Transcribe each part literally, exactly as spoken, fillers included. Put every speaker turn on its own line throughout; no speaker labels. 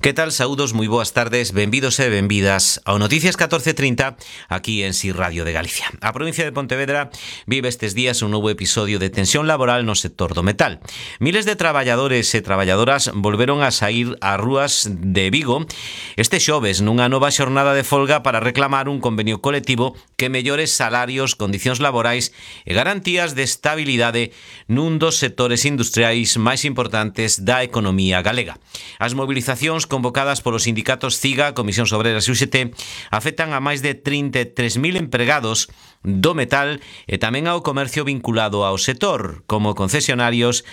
Que tal, saúdos, moi boas tardes, benvidos e benvidas ao Noticias catorce trinta aquí en Si Radio de Galicia. A provincia de Pontevedra vive estes días un novo episodio de tensión laboral no sector do metal. Miles de traballadores e traballadoras volveron a saír ás rúas de Vigo este xoves nunha nova xornada de folga para reclamar un convenio colectivo que mellore salarios, condicións laborais e garantías de estabilidade nun dos sectores industriais máis importantes da economía galega. As movilizacións convocadas polos sindicatos CIGA, Comisións Obreras e U G T afectan a máis de trinta e tres mil empregados do metal e tamén ao comercio vinculado ao sector, como concesionarios,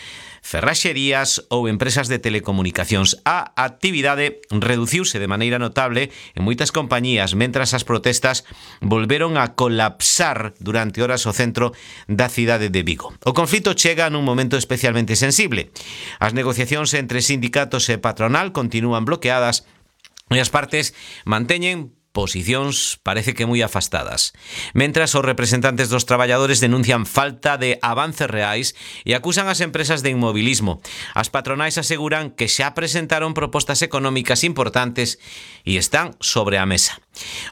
ferraxerías ou empresas de telecomunicacións. A actividade reduciuse de maneira notable en moitas compañías, mentras as protestas volveron a colapsar durante horas o centro da cidade de Vigo. O conflito chega nun momento especialmente sensible. As negociacións entre sindicatos e patronal continúan bloqueadas e as partes manteñen posicións parece que moi afastadas. Mentras, os representantes dos traballadores denuncian falta de avances reais e acusan as empresas de inmobilismo. As patronais aseguran que xa presentaron propostas económicas importantes e están sobre a mesa.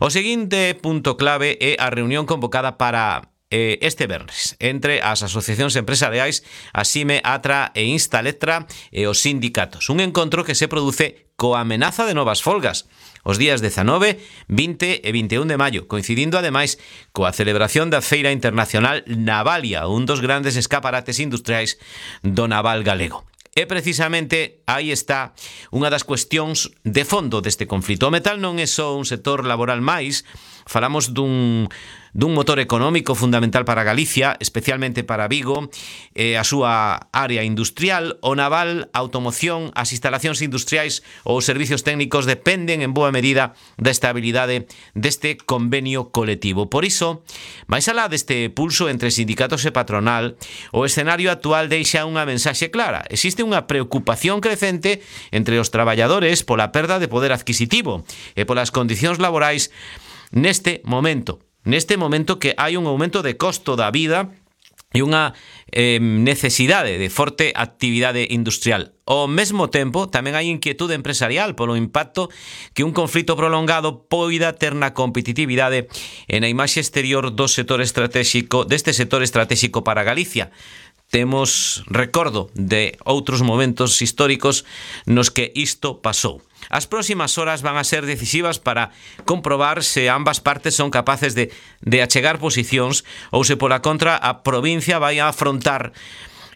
O seguinte punto clave é a reunión convocada para eh, este venres entre as asociacións empresariais, a SIME, ATRA e Instaletra e os sindicatos. Un encontro que se produce coa amenaza de novas folgas os días dezanove, vinte e vinte e un de maio, coincidindo ademais coa celebración da Feira Internacional Navalia, un dos grandes escaparates industriais do naval galego. E precisamente aí está unha das cuestións de fondo deste conflito. O metal non é só un sector laboral máis, falamos dun dun motor económico fundamental para Galicia, especialmente para Vigo, e a súa área industrial. O naval, a automoción, as instalacións industriais ou os servicios técnicos dependen en boa medida da estabilidade deste convenio colectivo. Por iso, máis alá deste pulso entre sindicatos e patronal, o escenario actual deixa unha mensaxe clara. Existe unha preocupación crecente entre os traballadores pola perda de poder adquisitivo e polas condicións laborais neste momento. Neste momento que hai un aumento de costo da vida e unha eh, necesidade de forte actividade industrial. Ao mesmo tempo, tamén hai inquietude empresarial polo impacto que un conflito prolongado poida ter na competitividade e na imaxe exterior do sector estratégico, deste sector estratégico para Galicia. Temos recordo de outros momentos históricos nos que isto pasou. As próximas horas van a ser decisivas para comprobar se ambas partes son capaces de, de achegar posicións ou se pola contra a provincia vai a afrontar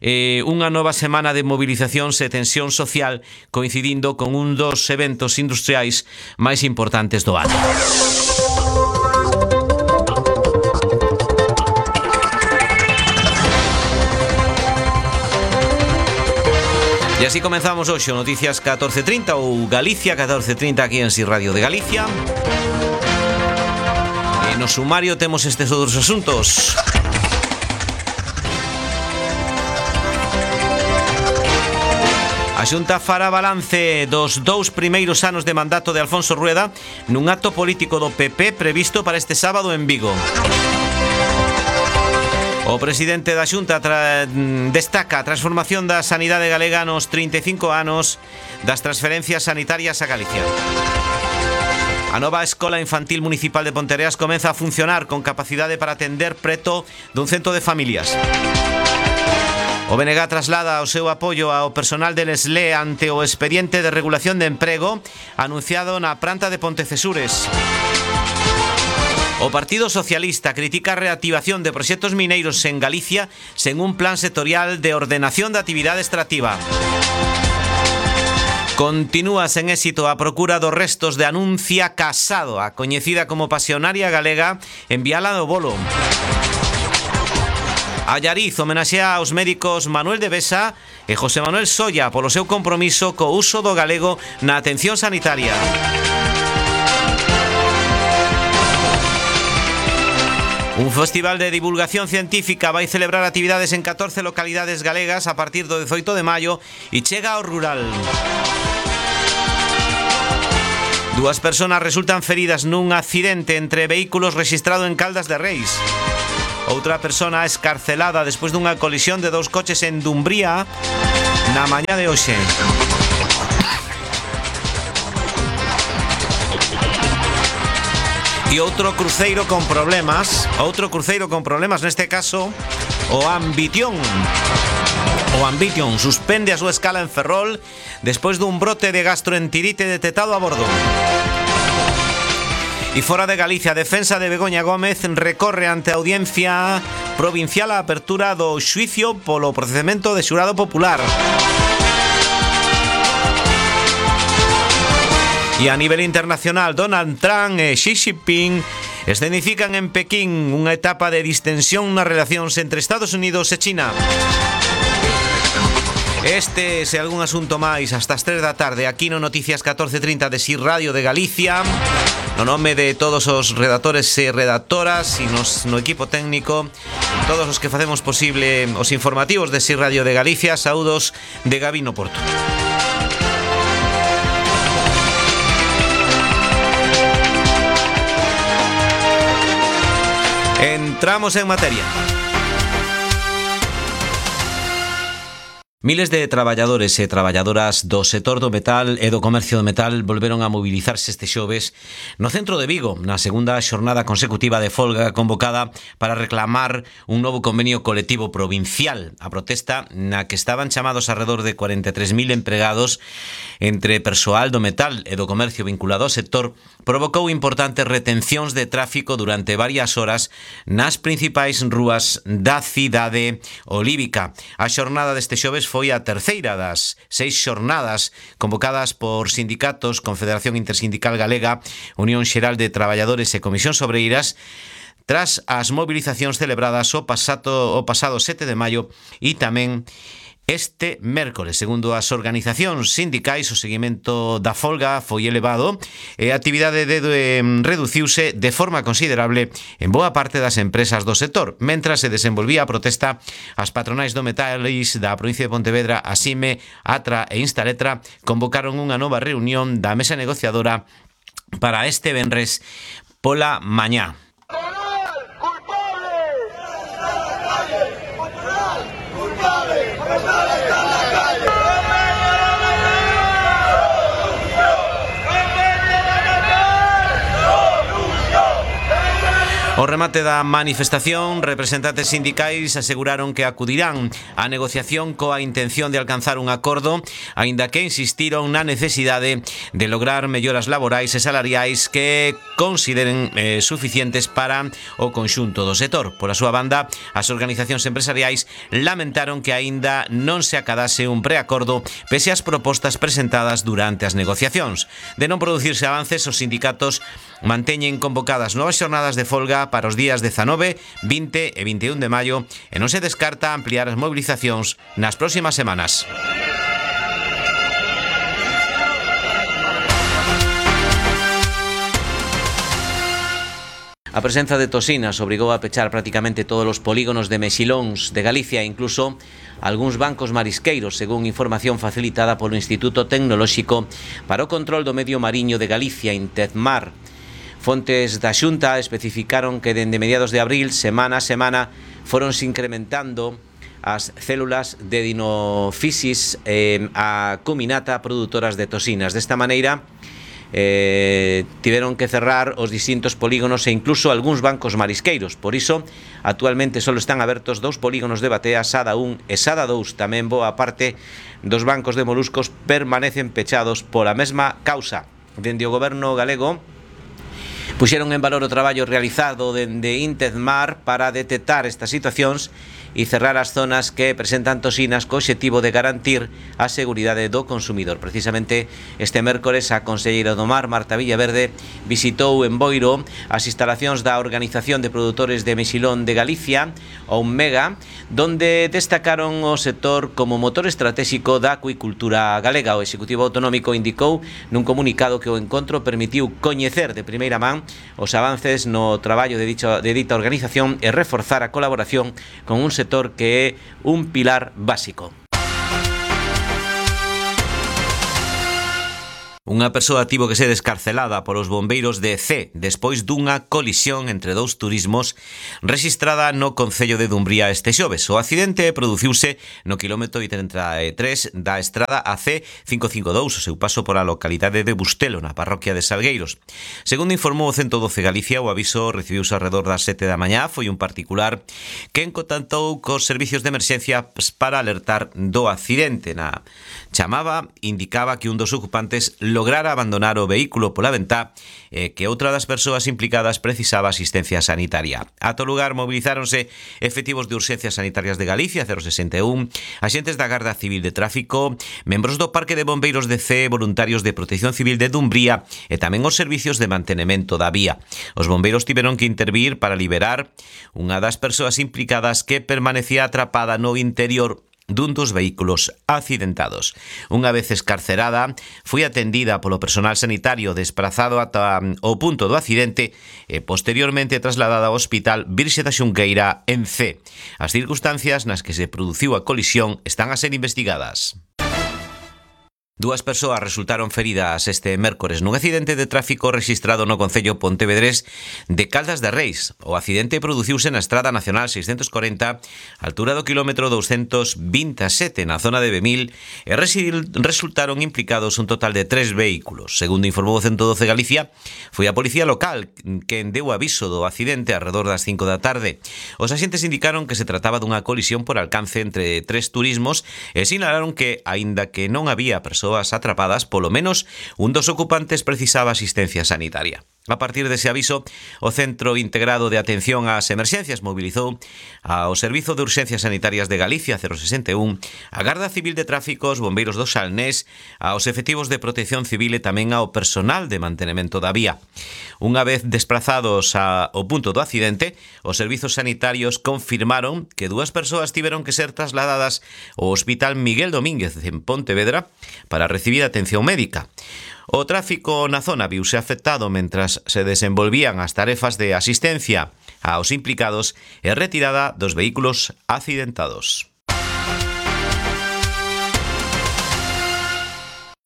eh, unha nova semana de movilizacións e tensión social coincidindo con un dos eventos industriais máis importantes do ano. E así comenzamos hoxe o Noticias catorce trinta ou Galicia catorce trinta aquí en Si Radio de Galicia. E no sumario temos estes outros asuntos. A Xunta fará balance dos dous primeiros anos de mandato de Alfonso Rueda nun acto político do P P previsto para este sábado en Vigo. O presidente da Xunta tra... destaca a transformación da sanidade galega nos trinta e cinco anos das transferencias sanitarias a Galicia. A nova Escola Infantil Municipal de Ponteareas comeza a funcionar con capacidade para atender preto dun cento de familias. O B N G traslada o seu apoio ao personal del S L E ante o expediente de regulación de emprego anunciado na planta de Pontecesures. O Partido Socialista critica a reactivación de proxectos mineiros en Galicia sen un plan sectorial de ordenación da actividade extractiva. Continúa sen éxito a procura dos restos de Anuncia Casado, a coñecida como pasionaria galega, enviala do bolo. Allariz homenaxea aos médicos Manuel de Besa e José Manuel Solla polo seu compromiso co uso do galego na atención sanitaria. Un festival de divulgación científica vai celebrar actividades en catorce localidades galegas a partir do dezoito de maio e chega ao rural. Dúas persoas resultan feridas nun accidente entre vehículos rexistrado en Caldas de Reis. Outra persona escarcelada despois dunha colisión de dous coches en Dumbría na mañá de hoxe. E outro cruceiro con problemas, outro cruceiro con problemas, neste caso, o Ambition. O Ambition suspende a súa escala en Ferrol despois dun brote de gastroenterite detectado a bordo. E fora de Galicia, a defensa de Begoña Gómez recorre ante a Audiencia Provincial a apertura do xuicio polo procedemento de xurado popular. E a nivel internacional, Donald Trump e Xi Jinping escenifican en Pekín unha etapa de distensión nas relacións entre Estados Unidos e China. Este é algún asunto máis hasta as tres da tarde aquí no Noticias catorce trinta de S I Radio de Galicia. No nome de todos os redactores e redactoras e nos, no equipo técnico, todos os que facemos posible os informativos de S I Radio de Galicia, saúdos de Gabino Porto. Entramos en materia. Miles de traballadores e traballadoras do sector do metal e do comercio do metal volveron a mobilizarse este xoves no centro de Vigo, na segunda xornada consecutiva de folga convocada para reclamar un novo convenio colectivo provincial. A protesta, na que estaban chamados alrededor de cuarenta e tres mil empregados entre persoal do metal e do comercio vinculado ao sector, provocou importantes retencións de tráfico durante varias horas nas principais rúas da cidade olívica. A xornada deste xoves foi a terceira das seis xornadas convocadas por sindicatos, Confederación Intersindical Galega, Unión Xeral de Traballadores e Comisións Obreiras, tras as movilizacións celebradas o pasado, o pasado sete de maio e tamén este mércores. Segundo as organizacións sindicais, o seguimento da folga foi elevado e a actividade de, de, reduciuse de forma considerable en boa parte das empresas do sector. Mentras se desenvolvía a protesta, as patronais do metais da provincia de Pontevedra, Asime, Atra e Instaletra, convocaron unha nova reunión da mesa negociadora para este venres pola mañá. Ao remate da manifestación, representantes sindicais aseguraron que acudirán á negociación coa intención de alcanzar un acordo, aínda que insistiron na necesidade de lograr melloras laborais e salariais que consideren eh, suficientes para o conxunto do sector. Pola súa banda, as organizacións empresariais lamentaron que aínda non se acadase un preacordo pese ás propostas presentadas durante as negociacións. De non producirse avances, os sindicatos manteñen convocadas novas xornadas de folga para os días dezanove, vinte e vinte e un de maio e non se descarta ampliar as movilizacións nas próximas semanas. A presenza de toxinas obrigou a pechar prácticamente todos os polígonos de mexilóns de Galicia e incluso algúns bancos marisqueiros, según información facilitada polo Instituto Tecnolóxico para o Control do Medio Mariño de Galicia, Intezmar. Fontes da Xunta especificaron que dende mediados de abril, semana a semana, foronse incrementando as células de dinofisis eh, a cuminata produtoras de toxinas. Desta maneira, eh, tiveron que cerrar os distintos polígonos e incluso algúns bancos marisqueiros. Por iso, actualmente só están abertos dous polígonos de Batea, Sada un e Sada dous. Tamén boa parte dos bancos de moluscos permanecen pechados pola mesma causa. Dende o goberno galego puxeron en valor o traballo realizado dende Intezmar para detectar estas situacións e cerrar as zonas que presentan toxinas co obxectivo de garantir a seguridade do consumidor. Precisamente este mércores a conselleira do Mar, Marta Villaverde, visitou en Boiro as instalacións da Organización de Produtores de Mexilón de Galicia, o Mega, donde destacaron o sector como motor estratégico da acuicultura galega. O Executivo Autonómico indicou nun comunicado que o encontro permitiu coñecer de primeira man os avances no traballo de, dicho, de dita organización e reforzar a colaboración con un sector que é un pilar básico. Unha persoa tivo que ser escarcelada polos bombeiros de Cee despois dunha colisión entre dous turismos rexistrada no concello de Dumbría este xoves. O accidente produciuse no quilómetro trinta e tres da estrada A C quince cincuenta e dous, o seu paso pola localidade de Bustelo, na parroquia de Salgueiros. Segundo informou o ciento doce Galicia, o aviso recibiuse alrededor das sete da mañá. Foi un particular quen contactou cos servicios de emerxencia para alertar do accidente. Na chamaba indicaba que un dos ocupantes lograra abandonar o vehículo pola ventá e que outra das persoas implicadas precisaba asistencia sanitaria. Ata o lugar movilizáronse efectivos de urxencias sanitarias de Galicia, cero sesenta e un, axentes da Garda Civil de Tráfico, membros do Parque de Bombeiros de Cee, voluntarios de Protección Civil de Dumbría e tamén os servicios de mantenemento da vía. Os bombeiros tiveron que intervir para liberar unha das persoas implicadas que permanecía atrapada no interior dun dos vehículos accidentados. Unha vez escarcerada, foi atendida polo personal sanitario desprazado ata o punto do accidente e posteriormente trasladada ao Hospital Virxe da Xunqueira en Cee. As circunstancias nas que se produciu a colisión están a ser investigadas. Dúas persoas resultaron feridas este mércores nun accidente de tráfico rexistrado no concello pontevedrés de Caldas de Reis. O accidente produciuse na Estrada Nacional seiscentos corenta, altura do quilómetro douscentos vinte e sete, na zona de Bemil, e resultaron implicados un total de tres vehículos. Segundo informou o ciento doce Galicia, foi a policía local quen deu aviso do accidente alrededor das cinco da tarde. Os axentes indicaron que se trataba dunha colisión por alcance entre tres turismos e sinalaron que, aínda que non había persoas atrapadas, polo menos un dos ocupantes precisaba asistencia sanitaria. A partir dese aviso, o Centro Integrado de Atención ás Emerxencias mobilizou ao Servizo de Urxencias Sanitarias de Galicia, cero sesenta e un, a Garda Civil de Tráfico, os bombeiros do Salnés, aos efectivos de Protección Civil e tamén ao personal de mantenemento da vía. Unha vez desplazados ao punto do accidente, os servizos sanitarios confirmaron que dúas persoas tiveron que ser trasladadas ao Hospital Miguel Domínguez en Pontevedra para recibir atención médica. O tráfico na zona viuse afectado mentras se desenvolvían as tarefas de asistencia aos implicados e retirada dos vehículos accidentados.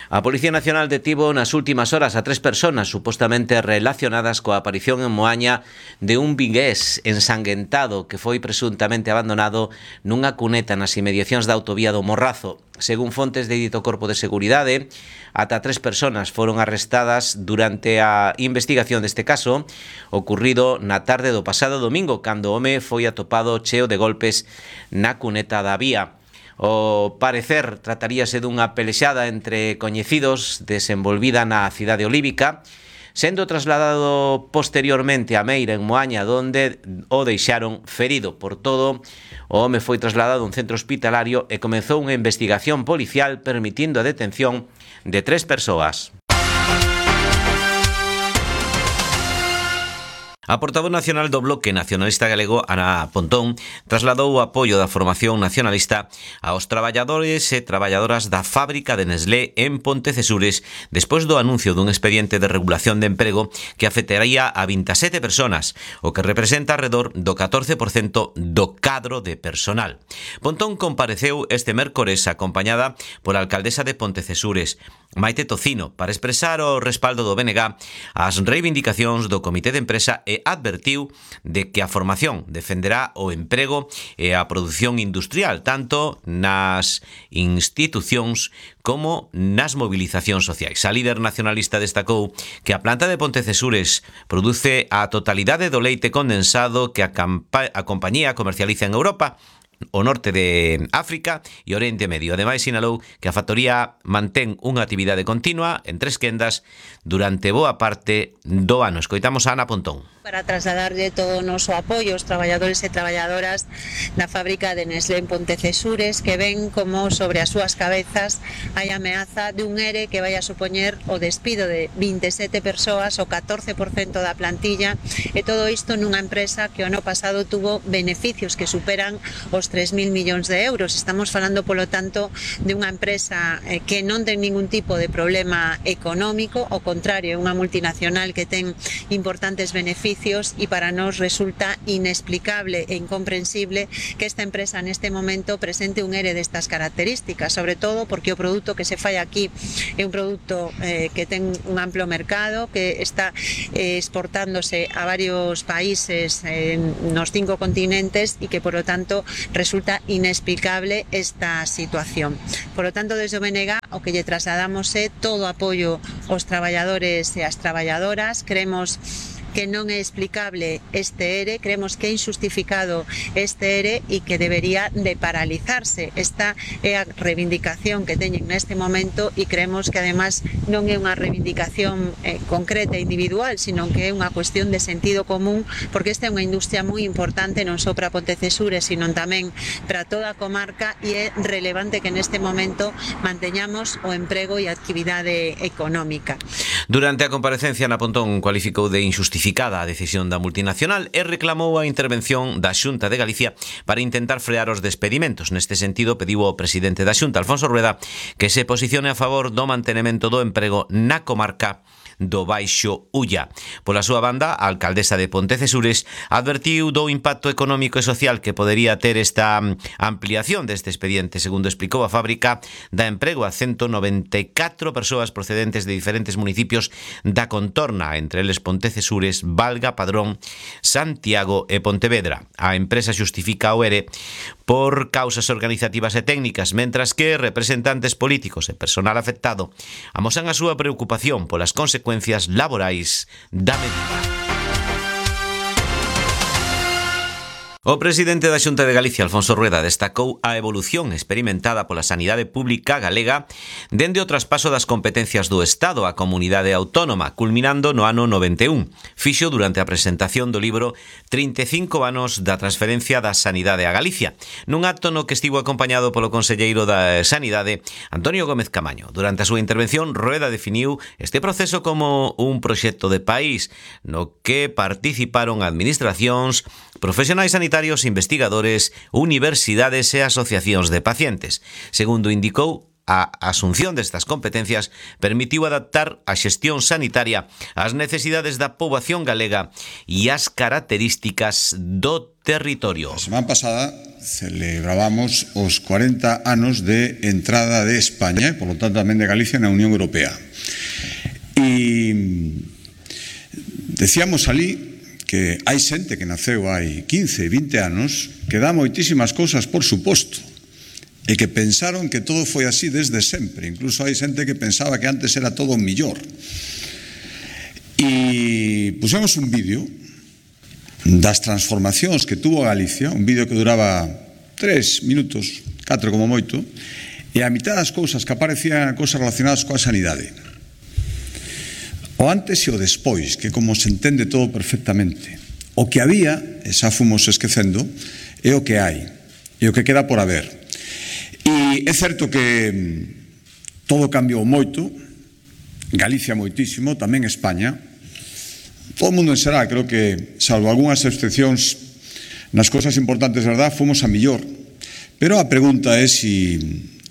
A Policía Nacional detivo nas últimas horas a tres personas supostamente relacionadas coa aparición en Moaña de un vigués ensanguentado que foi presuntamente abandonado nunha cuneta nas inmediacións da autovía do Morrazo. Según fontes de dito Corpo de Seguridade, ata tres personas foron arrestadas durante a investigación deste caso, ocurrido na tarde do pasado domingo, cando o home foi atopado cheo de golpes na cuneta da vía. O parecer trataríase dunha pelexada entre coñecidos desenvolvida na cidade olívica, sendo trasladado posteriormente a Meira, en Moaña, donde o deixaron ferido. Por todo, o home foi trasladado a un centro hospitalario e comezou unha investigación policial permitindo a detención de tres persoas. A portavoz nacional do Bloque Nacionalista Galego, Ana Pontón, trasladou o apoio da formación nacionalista aos traballadores e traballadoras da fábrica de Nestlé en Pontecesures despois do anuncio dun expediente de regulación de emprego que afectaría a vinte e sete personas, o que representa alrededor do catorce por cento do cadro de personal. Pontón compareceu este mércores acompañada pola alcaldesa de Pontecesures, Maite Tocino, para expresar o respaldo do B N G ás reivindicacións do Comité de Empresa e advertiu de que a formación defenderá o emprego e a produción industrial, tanto nas institucións como nas movilizacións sociais. A líder nacionalista destacou que a planta de Pontecesures produce a totalidade do leite condensado que a, a compañía comercializa en Europa, o norte de África e Oriente Medio. Ademais, sinalou que a factoría mantén unha actividade continua en tres quendas durante boa parte do ano. Escoitamos a Ana Pontón.
Para trasladarlle todo o noso apoio aos traballadores e traballadoras da fábrica de Nestlé en Pontecesures, que ven como sobre as súas cabezas hai ameaza de un ERE que vai a supoñer o despido de vinte e sete persoas, o catorce por cento da plantilla, e todo isto nunha empresa que o ano pasado tuvo beneficios que superan os tres mil millóns de euros. Estamos falando, polo tanto, de unha empresa que non ten ningún tipo de problema económico, ao contrario, é unha multinacional que ten importantes beneficios servicios y para nos resulta inexplicable e incomprensible que esta empresa neste momento presente un ERE destas características, sobre todo porque o produto que se fai aquí é un produto eh, que ten un amplo mercado, que está eh, exportándose a varios países eh, nos cinco continentes e que, por lo tanto, resulta inexplicable esta situación. Por lo tanto, desde o B N G o que lle trasladamos é todo o apoio aos traballadores e ás traballadoras. Creemos que non é explicable este ERE, creemos que é injustificado este ERE e que debería de paralizarse. Esta é a reivindicación que teñen neste momento e creemos que además non é unha reivindicación eh, concreta e individual, sino que é unha cuestión de sentido común, porque esta é unha industria moi importante non só para Pontecesures, sino tamén para toda a comarca, e é relevante que neste momento manteñamos o emprego e a actividade económica.
Durante a comparecencia na Pontón cualificou de injustificada a decisión da multinacional e reclamou a intervención da Xunta de Galicia para intentar frear os despedimentos. Neste sentido, pediu ao presidente da Xunta, Alfonso Rueda, que se posicione a favor do mantenemento do emprego na comarca do Baixo Ulla. Pola súa banda, a alcaldesa de Pontecesures advertiu do impacto económico e social que podería ter esta ampliación deste expediente. Segundo explicou a fábrica, dá emprego a ciento noventa e catro persoas procedentes de diferentes municipios da contorna, entre eles Pontecesures, Valga, Padrón, Santiago e Pontevedra. A empresa xustifica o ERE por causas organizativas e técnicas, mentras que representantes políticos e personal afectado amosan a súa preocupación polas consecuencias laborais da medida. O presidente da Xunta de Galicia, Alfonso Rueda, destacou a evolución experimentada pola sanidade pública galega dende o traspaso das competencias do Estado á comunidade autónoma, culminando no ano noventa e un. Fixo durante a presentación do libro trinta e cinco anos da transferencia da sanidade a Galicia, nun acto no que estivo acompañado polo conselleiro da Sanidade, Antonio Gómez Camaño. Durante a súa intervención, Rueda definiu este proceso como un proxecto de país no que participaron administracións, profesionais sanitarios, investigadores, universidades e asociacións de pacientes. Segundo indicou, a asunción destas competencias permitiu adaptar a xestión sanitaria ás necesidades da poboación galega e ás características do territorio.
A semana pasada celebrábamos os cuarenta anos de entrada de España e, por lo tanto, tamén de Galicia na Unión Europea. E decíamos ali que hai xente que naceu hai quince, vinte anos que dá moitísimas cousas por suposto e que pensaron que todo foi así desde sempre. Incluso hai xente que pensaba que antes era todo millor. E pusemos un vídeo das transformacións que tuvo Galicia, un vídeo que duraba tres minutos, catro como moito, e a mitad das cousas que aparecían cousas relacionadas coa sanidade. O antes e o despois, que como se entende todo perfectamente. O que había, e xa fomos esquecendo, é o que hai, e o que queda por haber. E é certo que todo cambiou moito, Galicia moitísimo, tamén España. Todo o mundo en xeral, creo que, salvo algunhas excepcións, nas cousas importantes, verdad, fomos a millor. Pero a pregunta é se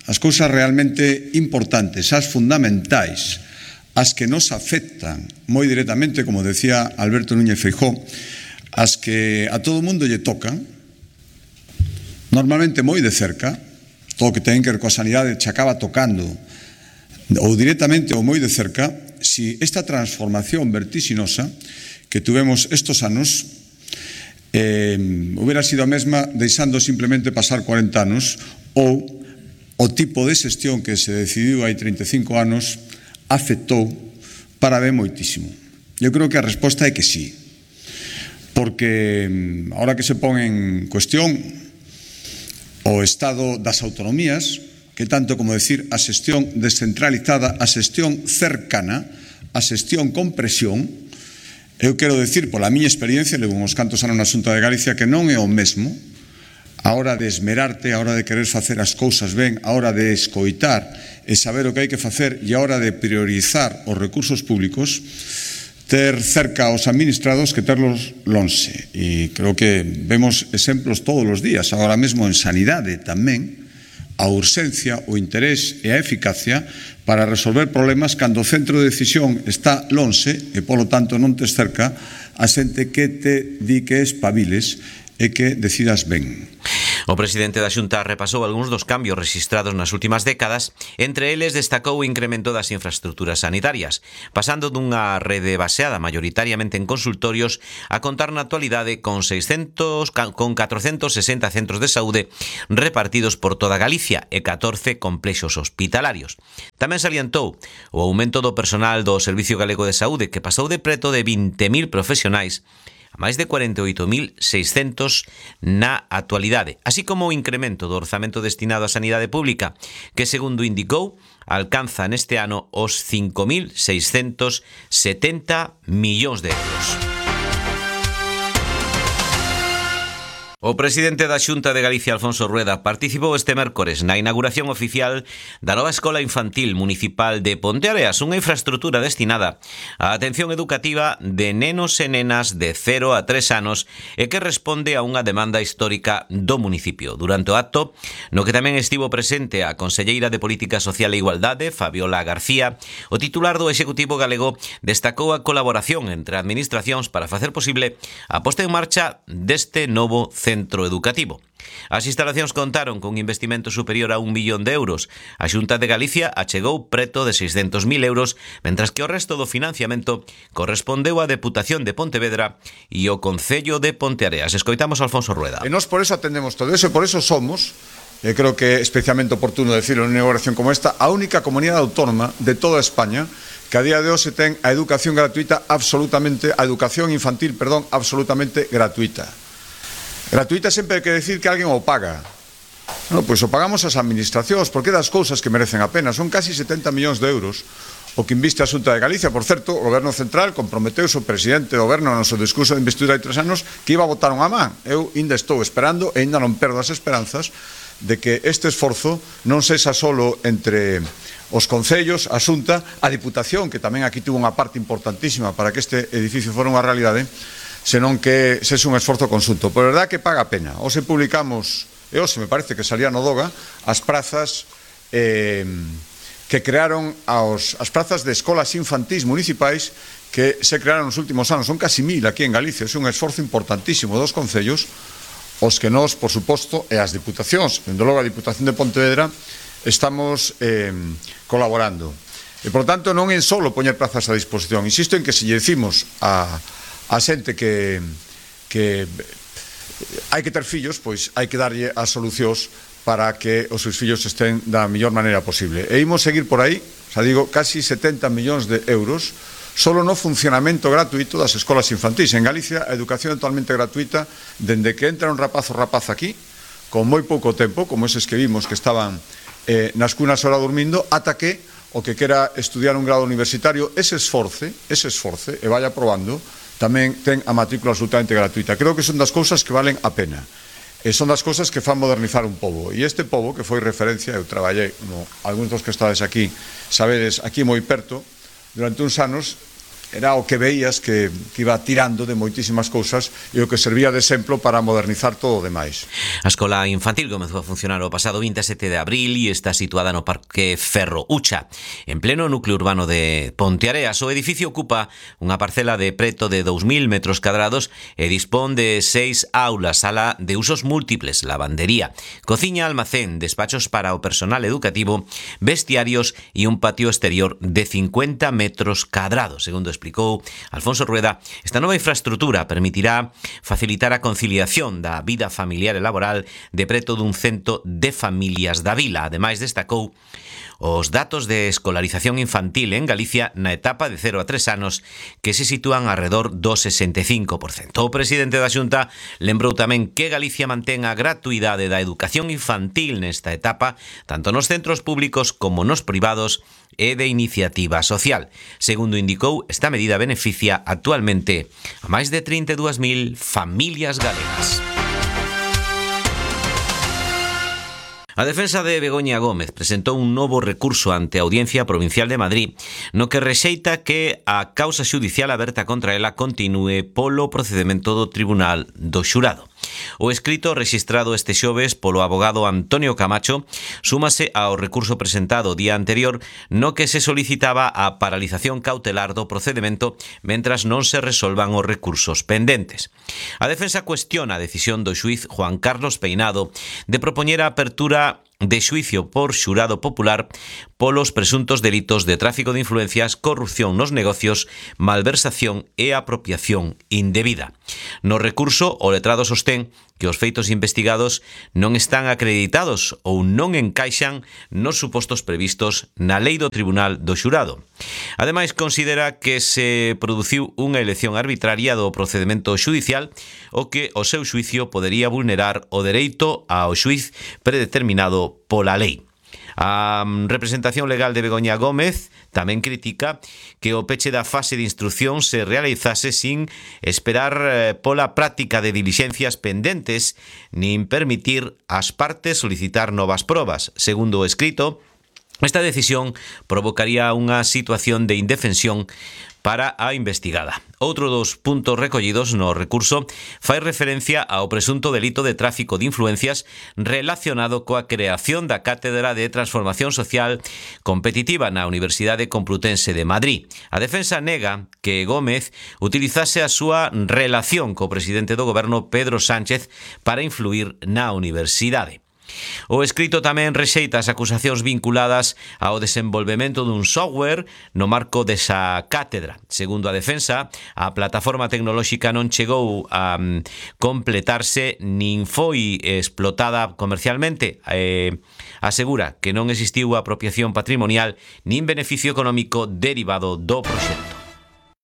as cousas realmente importantes, as fundamentais, as que nos afectan moi directamente, como decía Alberto Núñez Feijóo, as que a todo o mundo lle tocan, normalmente moi de cerca, todo o que ten que ver coa sanidade che acaba tocando, ou directamente ou moi de cerca, si esta transformación vertixinosa que tuvemos estos anos eh, hubiera sido a mesma deixando simplemente pasar cuarenta anos, ou o tipo de xestión que se decidiu hai trinta e cinco anos afectou para ben moitísimo. Eu creo que a resposta é que sí, porque ahora que se pon en cuestión o estado das autonomías, que tanto como decir a xestión descentralizada, a xestión cercana, a xestión con presión, eu quero decir, pola miña experiencia, levo uns cantos anos na Xunta de Galicia, que non é o mesmo a hora de esmerarte, a hora de querer facer as cousas ben, a hora de escoitar e saber o que hai que facer e a hora de priorizar os recursos públicos, ter cerca aos administrados que terlos lonxe. E creo que vemos exemplos todos os días, agora mesmo en sanidade tamén, a urxencia, o interés e a eficacia para resolver problemas cando o centro de decisión está lonxe e, polo tanto, non tes cerca a xente que te di que espabiles e que decidas ben.
O presidente da Xunta repasou algúns dos cambios rexistrados nas últimas décadas, entre eles destacou o incremento das infraestructuras sanitarias, pasando dunha rede baseada maioritariamente en consultorios a contar na actualidade con seiscentos con catrocentos sesenta centros de saúde repartidos por toda Galicia e catorce complexos hospitalarios. Tamén salientou o aumento do personal do Servicio Galego de Saúde, que pasou de preto de vinte mil profesionais a máis de cuarenta e oito mil seiscentos na actualidade, así como o incremento do orzamento destinado á sanidade pública, que, segundo indicou, alcanza neste ano os cinco mil seiscentos setenta millóns de euros. O presidente da Xunta de Galicia, Alfonso Rueda, participou este mércores na inauguración oficial da nova Escola Infantil Municipal de Ponteareas, unha infraestrutura destinada á atención educativa de nenos e nenas de cero a tres anos e que responde a unha demanda histórica do municipio. Durante o acto, no que tamén estivo presente a conselleira de Política Social e Igualdade, Fabiola García, o titular do Executivo galego destacou a colaboración entre administracións para facer posible a posta en marcha deste novo centro centro educativo. As instalacións contaron con un investimento superior a un millón de euros. A Xunta de Galicia achegou preto de seiscentos mil euros, mentras que o resto do financiamento correspondeu á Deputación de Pontevedra e o Concello de Ponteareas. Escoitamos a Alfonso Rueda.
E nós por eso atendemos todo eso, e por eso somos, e creo que é especialmente oportuno decirlo en unha inauguración como esta, a única comunidade autónoma de toda España que a día de hoxe ten a educación gratuita absolutamente, a educación infantil, perdón, absolutamente gratuita. Gratuita sempre hai que decir que alguén o paga. No, pois o pagamos as administracións, porque das cousas que merecen a pena. Son casi setenta millóns de euros o que inviste a Xunta de Galicia. Por certo, o Goberno Central comprometeuse, o presidente do Goberno no seu discurso de investidura hai tres anos, que iba a botar unha man. Eu ainda estou esperando e ainda non perdo as esperanzas de que este esforzo non sexa solo entre os concellos, a Xunta, a Diputación, que tamén aquí tuvo unha parte importantísima para que este edificio fora unha realidade, senón que sexe un esforzo conxunto. Por verdad que paga a pena. Hoxe publicamos, e hoxe me parece que salía no Doga, as prazas eh, que crearon aos, as prazas de escolas infantís municipais que se crearon nos últimos anos. Son casi mil aquí en Galicia. É un esforzo importantísimo dos concellos, os que nós, por suposto, e as diputacións, dende logo a Diputación de Pontevedra, estamos eh, colaborando. E, por tanto, non é solo poñer plazas a disposición. Insisto en que se lle decimos a a xente que, que hai que ter fillos, pois hai que darlle as solucións para que os seus fillos estén da mellor maneira posible. E imos seguir por aí, xa digo, casi setenta millóns de euros solo no funcionamento gratuito das escolas infantís. En Galicia, a educación é totalmente gratuita dende que entra un rapaz ou rapaz aquí, con moi pouco tempo, como eses que vimos que estaban eh, nas cunas ahora dormindo, ata que o que quera estudiar un grado universitario, ese esforce, ese esforce, e vaya probando, tamén ten a matrícula absolutamente gratuita. Creo que son das cousas que valen a pena. E son das cousas que fan modernizar un pobo. E este pobo, que foi referencia, eu traballei, como algúns dos que estades aquí, sabedes, aquí moi perto, durante uns anos, era o que veías que, que iba tirando de moitísimas cousas e o que servía de exemplo para modernizar todo o demais.
A escola infantil comezou a funcionar o pasado vinte e sete de abril e está situada no Parque Ferro Ucha, en pleno núcleo urbano de Ponteareas. O edificio ocupa unha parcela de preto de dous mil metros cadrados e dispón de seis aulas, sala de usos múltiples, lavandería, cociña, almacén, despachos para o personal educativo, vestiarios e un patio exterior de cincuenta metros cadrados. Segundo explicou Alfonso Rueda, esta nova infraestrutura permitirá facilitar a conciliación da vida familiar e laboral de preto dun cento de familias da vila. Ademais, destacou os datos de escolarización infantil en Galicia na etapa de cero a tres anos, que se sitúan alrededor do sesenta e cinco por cento. O presidente da Xunta lembrou tamén que Galicia mantén a gratuidade da educación infantil nesta etapa, tanto nos centros públicos como nos privados e de iniciativa social. Segundo indicou, esta medida beneficia actualmente a máis de trinta e dúas mil familias galegas. A defensa de Begoña Gómez presentou un novo recurso ante a Audiencia Provincial de Madrid, no que rexeita que a causa xudicial aberta contra ela continúe polo procedemento do Tribunal do Xurado. O escrito rexistrado este xoves polo abogado Antonio Camacho súmase ao recurso presentado o día anterior no que se solicitaba a paralización cautelar do procedimento mentras non se resolvan os recursos pendentes. A defensa cuestiona a decisión do xuíz Juan Carlos Peinado de propoñer a apertura de xuicio por xurado popular polos presuntos delitos de tráfico de influencias, corrupción nos negocios, malversación e apropiación indebida. No recurso, o letrado sostén que os feitos investigados non están acreditados ou non encaixan nos supostos previstos na lei do Tribunal do Xurado. Ademais, considera que se produciu unha elección arbitraria do procedimento xudicial o que o seu xuicio podería vulnerar o dereito ao xuiz predeterminado pola lei. A representación legal de Begoña Gómez tamén critica que o peche da fase de instrucción se realizase sin esperar pola práctica de dilixencias pendentes nin permitir ás partes solicitar novas probas. Segundo o escrito, esta decisión provocaría unha situación de indefensión para a investigada. Outro dos puntos recollidos no recurso fai referencia ao presunto delito de tráfico de influencias relacionado coa creación da Cátedra de Transformación Social Competitiva na Universidade Complutense de Madrid. A defensa nega que Gómez utilizase a súa relación co presidente do goberno Pedro Sánchez para influir na universidade. O escrito tamén rexeita as acusacións vinculadas ao desenvolvemento dun software no marco desa cátedra. Segundo a defensa, a plataforma tecnolóxica non chegou a completarse nin foi explotada comercialmente. Eh, asegura que non existiu apropiación patrimonial nin beneficio económico derivado do proxecto.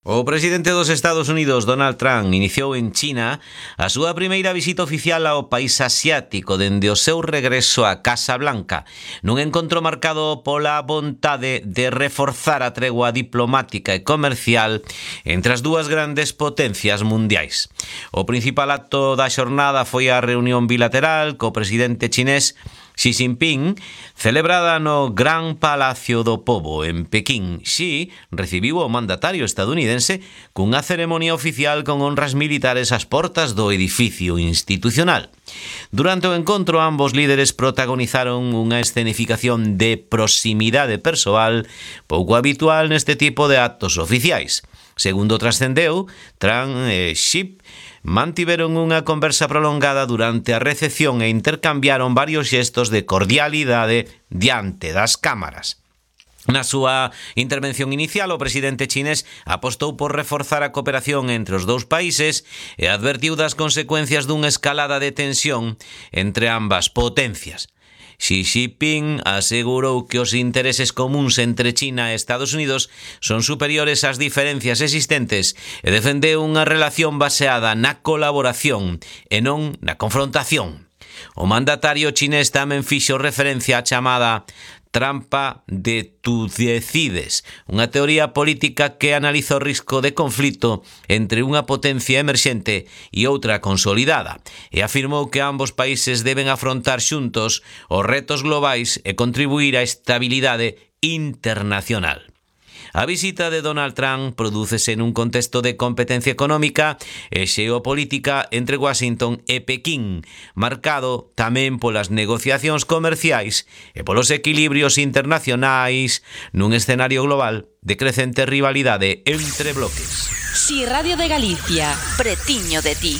O presidente dos Estados Unidos, Donald Trump, iniciou en China a súa primeira visita oficial ao país asiático dende o seu regreso á Casa Blanca, nun encontro marcado pola vontade de reforzar a tregua diplomática e comercial entre as dúas grandes potencias mundiais. O principal acto da xornada foi a reunión bilateral co presidente chinés Xi Jinping, celebrada no Gran Palacio do Pobo en Pequín. Xi recibiu o mandatario estadounidense cunha ceremonia oficial con honras militares ás portas do edificio institucional. Durante o encontro, ambos líderes protagonizaron unha escenificación de proximidade persoal pouco habitual neste tipo de actos oficiais. Segundo trascendeu, Trump e Xi mantiveron unha conversa prolongada durante a recepción e intercambiaron varios xestos de cordialidade diante das cámaras. Na súa intervención inicial, o presidente chinés apostou por reforzar a cooperación entre os dous países e advertiu das consecuencias dunha escalada de tensión entre ambas potencias. Xi Jinping asegurou que os intereses comuns entre China e Estados Unidos son superiores ás diferencias existentes e defendeu unha relación baseada na colaboración e non na confrontación. O mandatario chinés tamén fixo referencia á chamada trampa de tú decides, unha teoría política que analiza o risco de conflito entre unha potencia emerxente e outra consolidada, e afirmou que ambos países deben afrontar xuntos os retos globais e contribuir á estabilidade internacional. A visita de Donald Trump prodúcese nun contexto de competencia económica e xeopolítica entre Washington e Pequín, marcado tamén polas negociacións comerciais e polos equilibrios internacionais nun escenario global de crecente rivalidade entre bloques.
Si Radio de Galicia, pretiño de ti.